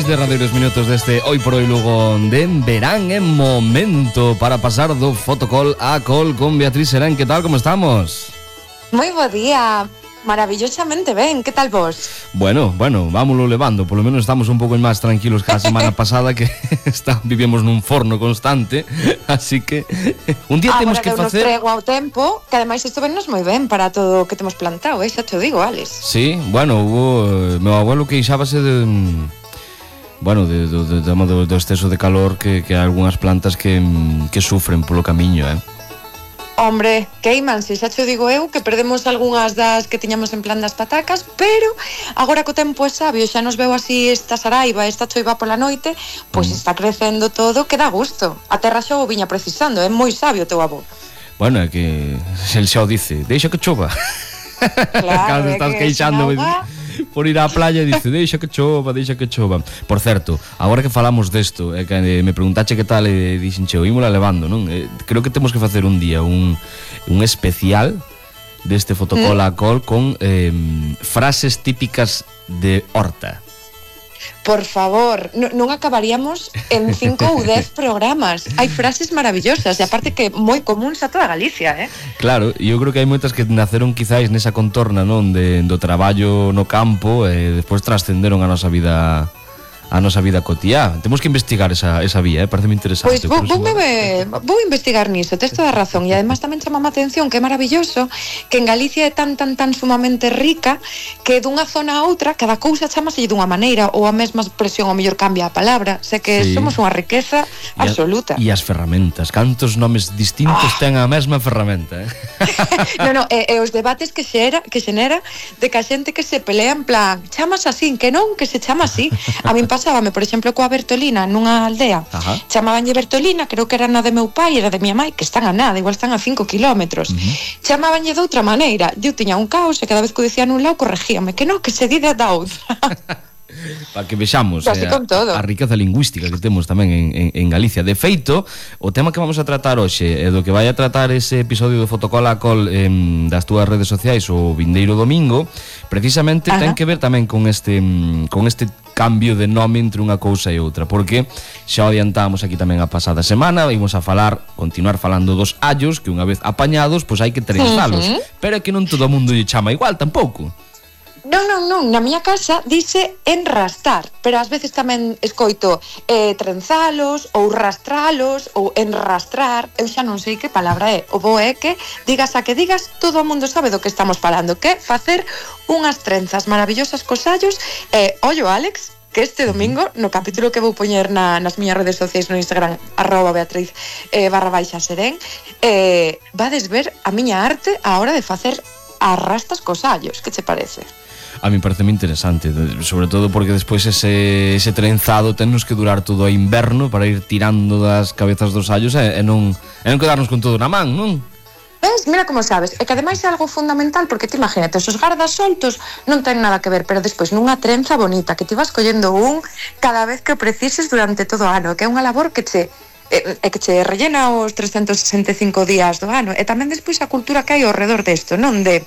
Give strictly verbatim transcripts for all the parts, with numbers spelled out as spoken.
derradeiros minutos deste Hoy por Hoy Lugo de verán en momento para pasar do fotocall a call con Beatriz Serén. Que tal, como estamos? Moi bo día, maravillosamente ben, que tal vos? Bueno, bueno, vámoslo levando. Por lo menos estamos un pouco máis tranquilos que a semana pasada, que está, vivimos nun forno constante. Así que un día temos que facer... Agora que nos trego ao tempo, que ademais isto vennos moi ben para todo o que temos plantado, eh? Xa te digo, Alex. Sí, bueno, hubo... Meu abuelo queixábase de... Bueno, de, do, de, do, do exceso de calor que, que hai algunhas plantas que, que sufren polo camiño, eh? Hombre, queimanse, xa te digo eu que perdemos algunhas das que tiñamos en plan das patacas, pero agora que o tempo é sabio, xa nos veo así esta saraiva, esta choiva pola noite, pois pues mm. está crecendo todo, que dá gusto. A terra xa o viña precisando, é moi sabio o teu avó. Bueno, é que el xa o dice, deixa que chova. Claro, cando estás que queixando por ir á playa, dice, deixa que chova, deixa que chova. Por certo, agora que falamos desto, é que me preguntache que tal, e dixenche, oímola levando, non? Eh, creo que temos que facer un día un, un especial deste fotocall a call con eh, frases típicas de horta. Por favor, non, non acabaríamos en cinco ou dez programas. Hai frases maravillosas e aparte que moi comuns a toda Galicia, eh? Claro, e eu creo que hai moitas que naceron quizáis nesa contorna, non, de, do traballo no campo e despois trascenderon a nosa vida a nosa vida cotiá. Temos que investigar esa, esa vía, eh? Pareceme interesante. Pois vou, vou, me, vou investigar niso, tes toda a razón. E además tamén chamame a atención que é maravilloso que en Galicia é tan, tan, tan sumamente rica que dunha zona a outra cada cousa chamase dunha maneira ou a mesma expresión ao mellor cambia a palabra. Sé que sí. Somos unha riqueza e absoluta. E as ferramentas, cantos nomes distintos oh. ten a mesma ferramenta, eh? No, no, e, e os debates que xera, que xenera de que a xente que se pelea en plan chamas así, que non, que se chama así. A min pasábame, por exemplo, coa Bertolina nunha aldea. Ajá. Chamabanlle Bertolina, creo que era na de meu pai, era de miña mãe, que están a nada, igual están a cinco kilómetros. Uh-huh. Chamabanlle de outra maneira. Eu tiña un caos e cada vez que o dicía nun lado corregíame, que non, que se di da outra. Para que vexamos eh, a, a riqueza lingüística que temos tamén en, en, en Galicia. De feito, o tema que vamos a tratar hoxe e do que vai a tratar ese episodio do Fotocall a Call eh, das túas redes sociais o vindeiro domingo, precisamente Ajá. ten que ver tamén con este con este cambio de nome entre unha cousa e outra, porque xa adiantamos aquí tamén a pasada semana, vimos a falar, continuar falando dos allos, que unha vez apañados, pois hai que trenzalos, uh-huh. pero é que non todo o mundo lle chama igual tampouco. Non, non, non, na miña casa dice enrastar, pero ás veces tamén escoito eh, trenzalos ou rastralos ou enrastrar, eu xa non sei que palabra é. O bo é que digas a que digas, todo o mundo sabe do que estamos falando, que facer unhas trenzas maravillosas cos allos. E, eh, ollo, Alex, que este domingo, no capítulo que vou poñer na, nas miñas redes sociais no Instagram, arroba Beatriz eh, barra baixa serén, eh, vades ver a miña arte a hora de facer as rastas cos allos. Que che parece? A mí parece moi interesante, sobre todo porque despois ese, ese trenzado tennos que durar todo o inverno para ir tirando das cabezas dos allos e, e, non, e non quedarnos con todo na man, non? Ves, mira como sabes, e que ademais é algo fundamental, porque te imagínate, os gardas soltos non ten nada que ver, pero despois nunha trenza bonita, que te vas collendo un cada vez que precises durante todo o ano, que é unha labor que che e, e que che rellena os trescentos sesenta e cinco días do ano, e tamén despois a cultura que hai ao redor desto, non de...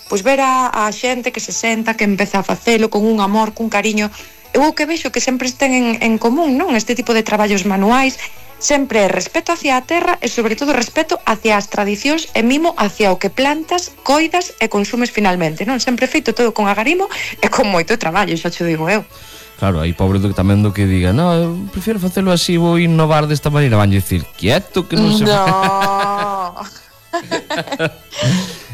Pois ver a, a xente que se senta, que empeza a facelo con un amor, cun cariño. Eu o que vexo que sempre estén en, en común, non? Este tipo de traballos manuais, sempre é respeto hacia a terra e sobre todo respeto hacia as tradicións e mimo hacia o que plantas, coidas e consumes finalmente, non? Sempre feito todo con agarimo e con moito traballo, xa te digo eu. Claro, aí pobre do, tamén do que diga, no, eu prefiro facelo así, vou innovar desta maneira, van dicir, quieto que non se... No.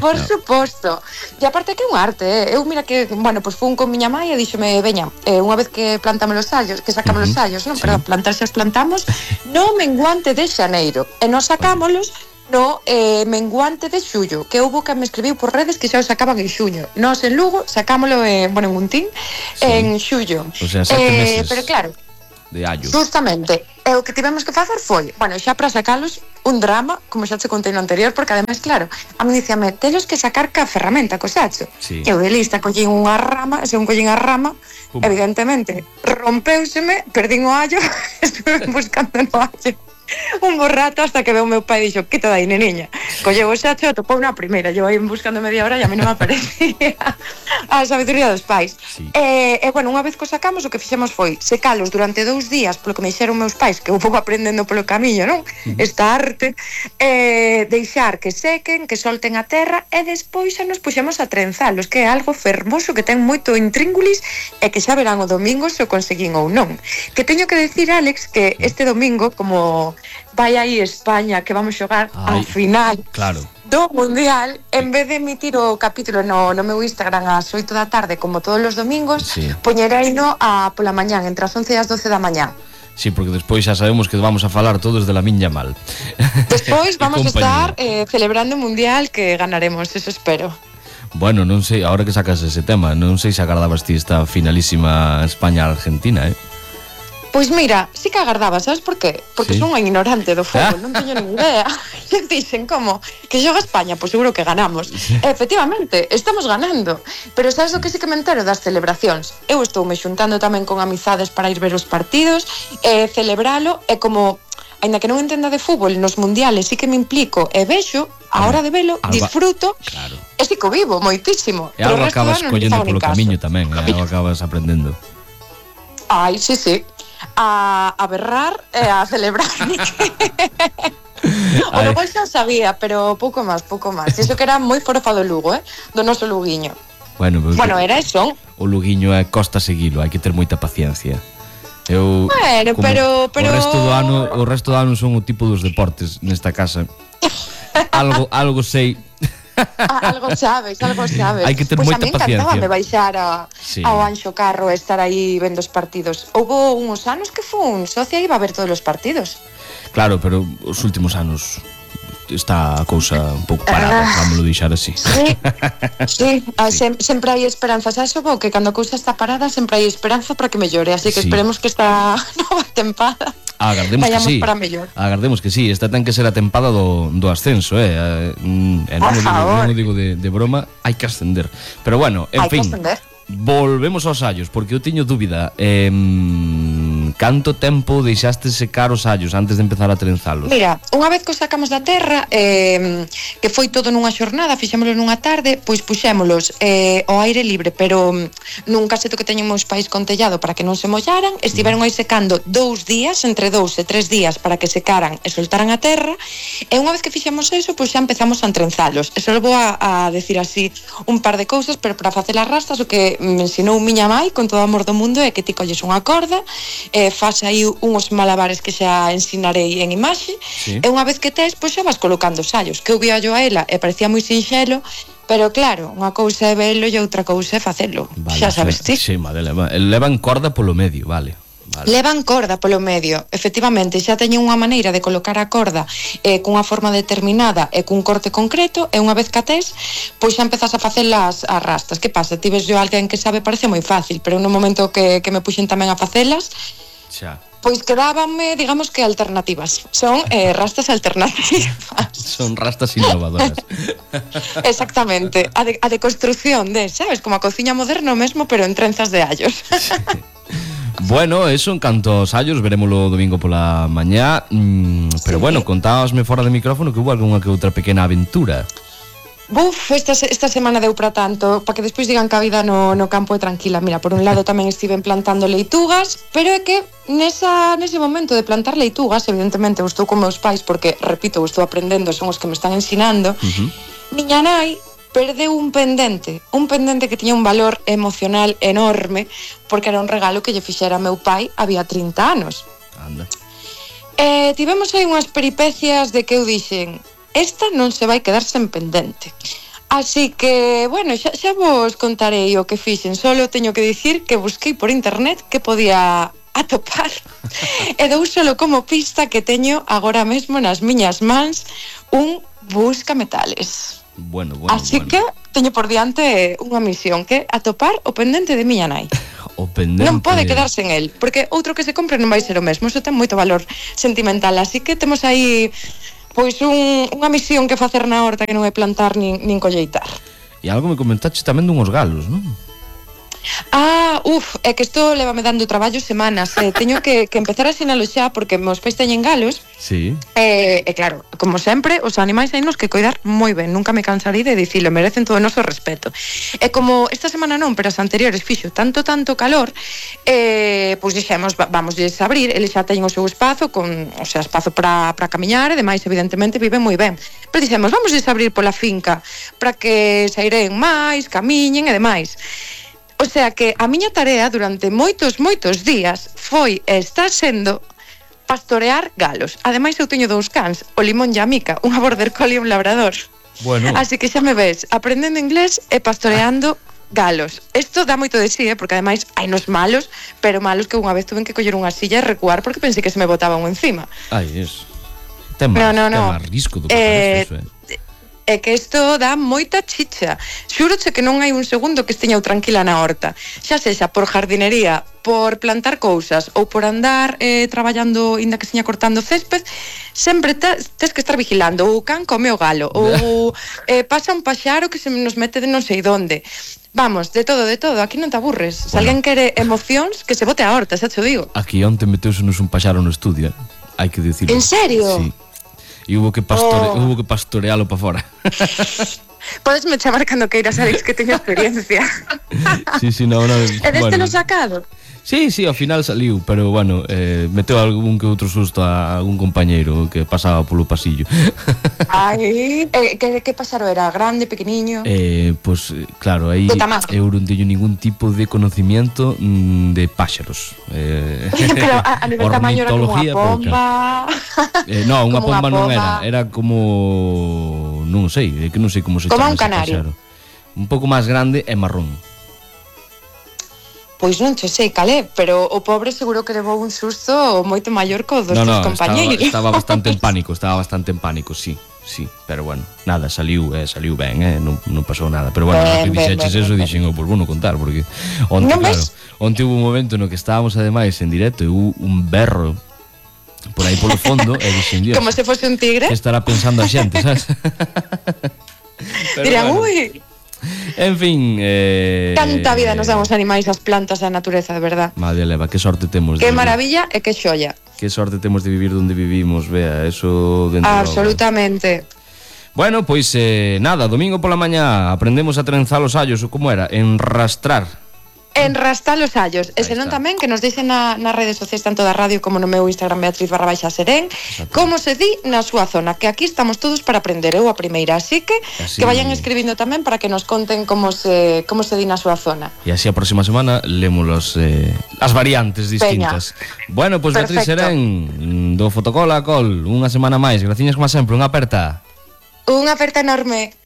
Por no. suposto. E aparte que é un arte, eh? Eu mira que, bueno, pois pues fun con miña mãe e díxome, veña, eh, unha vez que plantamos os allos, que sacamos uh-huh. os allos, non? Sí. Pero plantar xa os plantamos no menguante de xaneiro. E nos sacámolos no eh, menguante de xullo, que houbo que me escribiu por redes que xa o sacaban en xuño. Nós en Lugo sacámolo en, bueno, en Guntín, sí. en xullo. O sea, sete eh, meses. Pero claro, de allo. Justamente, e o que tivemos que facer foi, bueno, xa para sacalos un drama, como xa te contei no anterior, porque ademais, claro, a mí dicíame, telos que sacar ca ferramenta, co sacho. Sí. Eu de lista collín unha rama, e según collín a rama, um. evidentemente, rompeuseme, perdín o allo, estuve buscando no allo, un bo rato hasta que veo meu pai e dixo, que te dai, neniña? Colleu o xacho e topou na primeira. Eu aí buscando media hora e a mí non me aparecía a sabiduría dos pais. Sí. E, e, bueno, unha vez que o sacamos, o que fixemos foi secalos durante dous días, polo que me dixeron meus pais, que eu vou aprendendo polo camiño, non? Uh-huh. Esta arte, e deixar que sequen, que solten a terra, e despois xa nos puxemos a trenzalos, que é algo fermoso, que ten moito intríngulis, e que xa verán o domingo se o conseguín ou non. Que teño que decir, Alex, que este domingo, como vai aí España, que vamos xogar a final claro. do Mundial, en vez de emitir o capítulo no, no meu Instagram ás oito da tarde, como todos os domingos, sí. poñereino a pola mañán, entre as once e as doce da mañán. Sí, porque despois xa sabemos que vamos a falar todos de Lamine Yamal. Despois vamos a estar eh, celebrando o Mundial, que ganaremos, eso espero. Bueno, non sei, ahora que sacas ese tema, non sei se agardabas ti esta finalísima España-Argentina, eh? Pois mira, sí que agardaba, sabes por qué? Porque sí. son unha ignorante do fútbol, non teño nin idea. E dixen, como? Que xoga España? Pois seguro que ganamos. Sí. Efectivamente, estamos ganando. Pero sabes o que sí que me entero das celebracións? Eu estou me xuntando tamén con amizades para ir ver os partidos, e celebralo, e como, aínda que non entenda de fútbol, nos mundiales sí que me implico e vexo, a hora de velo, algo, disfruto, claro. E sí que o vivo moitísimo. E algo acabas collendo polo camiño tamén, e algo acabas aprendendo. Ai, sí, sí. A, a berrar e a celebrar. O do gol xa sabía, pero pouco máis, pouco máis. Iso que era moi forofa do Lugo, eh? Do noso Luguiño. Bueno, pues, bueno era eso. O Luguiño é costa seguilo, hai que ter moita paciencia. Eu, bueno, pero, pero... O resto do ano, o resto do ano son o tipo dos deportes nesta casa. algo, algo sei. Algo sabes, algo sabes. Hai que ter pues moita paciencia. Pois a mí encantaba me baixar a, sí. ao Anxo Carro e estar aí vendo os partidos. Houbo uns anos que fun socia e iba a ver todos os partidos. Claro, pero os últimos anos está a cousa un pouco parada, uh, vámoslo deixar así. Sí, sí, sí. Sem, sempre hai esperanza. Xa xo que cando a cousa está parada sempre hai esperanza para que mellore, así que sí. Esperemos que esta nova tempada agardemos que sí. Para mellor. Agardemos que sí, esta ten que ser a tempada do, do ascenso, eh. eh non, o digo, non o digo de, de broma, hai que ascender. Pero bueno, en hai fin, volvemos aos allos, porque eu teño dúbida. Eh, canto tempo deixaste secar os allos antes de empezar a trenzalos? Mira, unha vez que os sacamos da terra, eh, que foi todo nunha xornada, fixémolo nunha tarde, pois puxémolos eh, ao aire libre, pero nun caseto que teñen meus pais con tellado para que non se mollaran, estiveron aí secando dous días, entre dous e tres días para que secaran e soltaran a terra, e unha vez que fixemos eso, pois xa empezamos a entrenzalos. E só vou a, a decir así un par de cousas, pero para facer as rastas o que me ensinou miña mai con todo o amor do mundo é que ti colles unha corda, e faz aí uns malabares que xa ensinarei en imaxe, sí. E unha vez que tes, pois xa vas colocando os allos, que eu vía yo a ela e parecía moi sinxelo, pero claro, unha cousa é velo e outra cousa é facelo, vale, xa sabes ti. Sí, madre, levan corda polo medio, vale. Vale. Levan corda polo medio, efectivamente, xa teñen unha maneira de colocar a corda eh, cunha forma determinada e cun corte concreto, e unha vez que a tes, pois xa empezas a facer as rastas. Que pasa? Ti ves yo alguén que sabe, parece moi fácil, pero no momento que, que me puxen tamén a facelas, xa. Pois quedábanme, digamos que alternativas. Son eh, rastas alternativas. Son rastas innovadoras. Exactamente. A de, a de construción de, sabes, como a cociña moderna mesmo, pero en trenzas de allos. Sí. Bueno, eso en canto aos allos, verémoslo domingo pola mañá, mm, pero sí. Bueno, contábasme fora de micrófono que hubo algunha que outra pequena aventura. Buf, esta, esta semana deu para tanto, para que despois digan que a vida no, no campo é tranquila. Mira, por un lado tamén estiven plantando leitugas, pero é que nesa, nese momento de plantar leitugas, evidentemente eu estou con meus pais, porque, repito, eu estou aprendendo, son os que me están ensinando, uh-huh. Miña nai perdeu un pendente, un pendente que tiña un valor emocional enorme, porque era un regalo que lle fixera meu pai había trinta anos. Anda. E tivemos aí unhas peripecias de que eu dixen, esta non se vai quedar sen pendente. Así que, bueno, xa, xa vos contarei o que fixen, solo teño que dicir que busquei por internet que podía atopar e dou solo como pista que teño agora mesmo nas miñas mans un buscametales. Bueno, bueno, así bueno. Que teño por diante unha misión, que atopar o pendente de miña nai. O pendente. Non pode quedarse en el, porque outro que se compre non vai ser o mesmo, eso ten moito valor sentimental, así que temos aí pois un, unha misión que facer na horta, que non é plantar nin, nin colleitar. E algo me comentaste tamén dunhos galos, non? Ah, uf, é que isto levame dando traballo semanas. eh, Teño que, que empezar a sinalo xa porque meus pais teñen galos. Sí. E, e claro, como sempre, os animais hai nos que coidar moi ben. Nunca me cansarei de dicilo, merecen todo o noso respeto. E como esta semana non, pero as anteriores fixo tanto, tanto calor, eh, pois dixemos, va, vamos a abrir. Eles xa teñen o seu espazo, con, o sea, espazo para para camiñar, e demais, evidentemente, viven moi ben. Pero dixemos, vamos a abrir pola finca para que sairen máis, camiñen e demais. O sea que a miña tarea durante moitos, moitos días foi e está sendo pastorear galos. Ademais eu teño dous cans, o Limón e a Mica, unha border collie e un labrador. Bueno. Así que xa me ves, aprendendo inglés e pastoreando galos. Isto dá moito de sí, eh, porque ademais hai nos malos, pero malos que unha vez tuve que coller unha silla e recuar porque pensei que se me botaba un encima. Ai, eso. Ten máis, No, no, no. ten máis risco do que Eh, parece eso, eh. É que isto dá moita chicha. Xúroche que non hai un segundo que esteña eu tranquila na horta. Xa sexa por jardinería, por plantar cousas ou por andar eh, traballando, inda que seña cortando césped, sempre tes, tes que estar vigilando. O can come o galo, ou eh, pasa un paxaro que se nos mete de non sei donde. Vamos, de todo, de todo, aquí non te aburres. Se Bueno. alguén quere emocións, que se bote a horta, xa te o digo. Aquí onte meteuse-nos un paxaro no estudio, eh. Hai que dicirlo. En serio? Sí. E hubo que, pastore, Oh. hubo que pastorealo para fora. Podes me chamar cando queiras, Alex, que teño experiencia. Sí, sí, no, no. E deste bueno. lo sacado? Sí, sí, ao final saliu, pero bueno, eh, meteu algún que outro susto a algún compañeiro que pasaba polo pasillo. Ai, eh, que, que pasaro era? Grande, pequeniño? Eh, pues claro, aí De tamaño. eu non teño ningún tipo de conocimiento mm, de páxaros. Eh, Pero a, a nivel tamaño era como unha ornitología pomba. Eh, no, unha Como unha pomba non pomba. era, era como non sei, é que non sei como se Como chama un ese canario. páxaro. Un pouco máis grande e marrón. Pois non che sei calé, pero o pobre seguro que levou un susto moito maior co dos No, teus no, compañeiros. estaba, estaba bastante en pánico, estaba bastante en pánico, sí, sí, pero bueno, nada, saliu, eh, saliu ben, eh, non, non pasou nada, pero bueno, Ben, que ben, dixeches ben, eso, ben. dixen, oh, pues bueno contar, porque onte, Non claro, ves? onte hubo un momento no que estábamos ademais en directo e hubo un berro por aí polo fondo e dixen, Dios, Como se fose un tigre. que estará pensando a xente, sabes? Pero Dirían, bueno, ui, en fin, eh, canta vida nos dan os animais, as plantas, a natureza, de verdad. Madre leva, que sorte temos de Que vivir. maravilla e que xoia. Que sorte temos de vivir donde vivimos, vea, eso dentro logo. Absolutamente. Bueno, pois eh, nada, domingo pola mañá aprendemos a trenzar os allos, ou como era, enrastrar. Enrastar os allos. E Aí senón está. tamén que nos deixen na, nas redes sociais, tanto da radio como no meu Instagram Beatriz barra baixa Serén, Exacto. como se di na súa zona, que aquí estamos todos para aprender, eu a primeira, así que Así- que vayan escribindo tamén para que nos conten como se como se di na súa zona. E así a próxima semana lemos los, eh, as variantes distintas. Bueno, pois Beatriz Perfecto. Serén do Fotocola Col, unha semana máis. Graciñas como sempre, unha aperta. Unha aperta enorme.